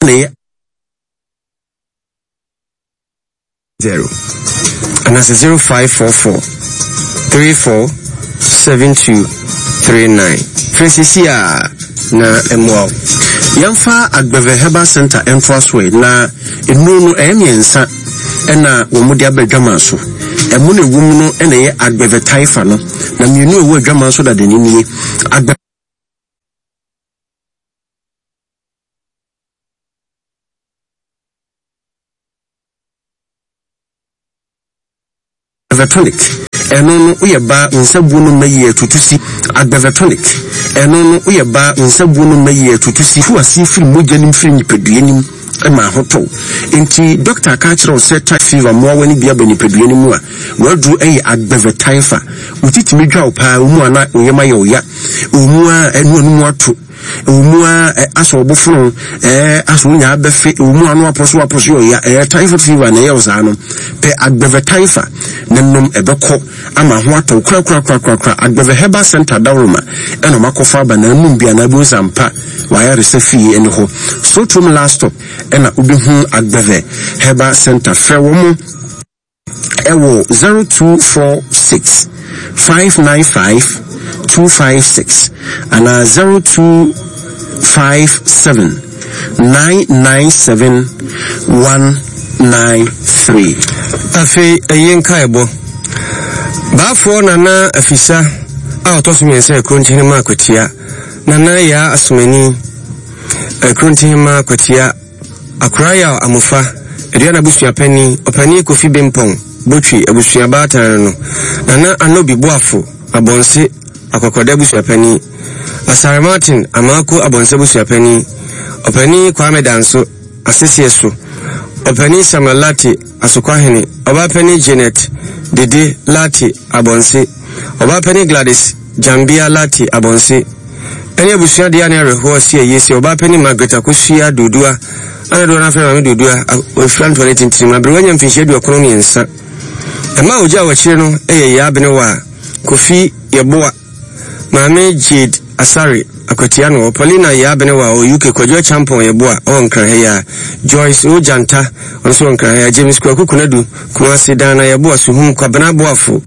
Na ɛyɛ 0 anaasɛ 0544 34 72 39. Frɛ seesei a na ɛmmoa wo. Yɛmfa Agbeve Herbal Center ntoa so ɛ, na nnuro no ɛyɛ mmiɛnsa ɛna wɔn de aba adwaman so. Ɛmo na ɛwɔ mu no ɛna ɛyɛ Agbeve Taifa no, na mmienu a ɛwɔ adwaman so dada no nie. Agbeve. Agbeve-tonic, ɛno no woyɛ baa wo nsa buo no mma yie atutu si. Agbeve-tonic, ɛno no woyɛ baa wo nsa buo no mma yie atutu si. Tu aseɛ firi mogya no mu firi nipadua no mu ma ahotɔ wo. Enti dɔkta aka akyerɛ wo sɛ typhoid fever mmoawa no bi aba nipadua no mu a, w'aduro yɛ Agbeve-typha. Wo ti tumi dwa wo paa, wo mu a na wo yam ayɛ wo ya, ɛwɔ mu a ɛno ano mu ato. Ɛwɔ mu ara ɛ asɛ ɔbo fono ɛɛ asɛ onya abɛfe ɛwɔ mu ano apɔso apɔso yɛ ɔya ɛɛ typhoid fever na ɛyɛ wo saa no pɛ agbɛvɛ typha na nom ɛbɛkɔ ama ho atɔ kura kura kura kura kura agbɛvɛ herbal center dawroma ɛna ɔmo akɔfa aba na anum bi anaa bi nsa mpa wayaresa fie ɛne hɔ sotrom last stop ɛna wobɛhu agbɛvɛ herbal center frɛ wɔn ɛwɔ 0246 595 256 anaa 0257 997 193. Afei ɛyi nkaebɔ. Baafoɔ Nana Afisa a ɔtɔ so mmiɛnsa yɛ Kurontihema Akwatia. Nana Yaa Asomani, Kurontihema Akwatia. Akora Yaw Amofa, Aduana abusua panin, Ɔpanin Kofi Bempong, Botwi abusua baatan no no, Nana Anobi Boafo, Abɔnse, Akɔkɔda abusua panin, Asare Martin, Amaako Abɔnse abusua panin, Ɔpanin Kwame Danso, Aseseɛ so, Ɔpanin Samuel Lartey, Asokwahene, Ɔbaapanin Janet Dede Lartey, Abɔnse, Ɔbaapanin Gladys Gyambea Lartey, Abɔnse. Ɛne abusua deɛ ne awerɛhoɔ si ayie sɛ ɔbaa panin Margaret Akosua Dodua a na dodoɔ no afrɛ Maame Dodua a ɔfira ntoa ne tintirim aberewa anya mfinhyia 93. Ɛma a ɔgyaa wɔ akyire no yɛ Yaa Benewa Kofi Yeboah, Maame Jade Asare Akwatia no, Paulina Yaa Benewa ɔwɔ UK, Kwadwo Acheampong Yeboah ɔwɔ Nkran ha yi ara, Joyce O Gyanta ɔno nso wɔ Nkran ha yi ara, James Kwaku Konadu, Kumasi, Daana Yeboah Suhum, Kwabena Boafo.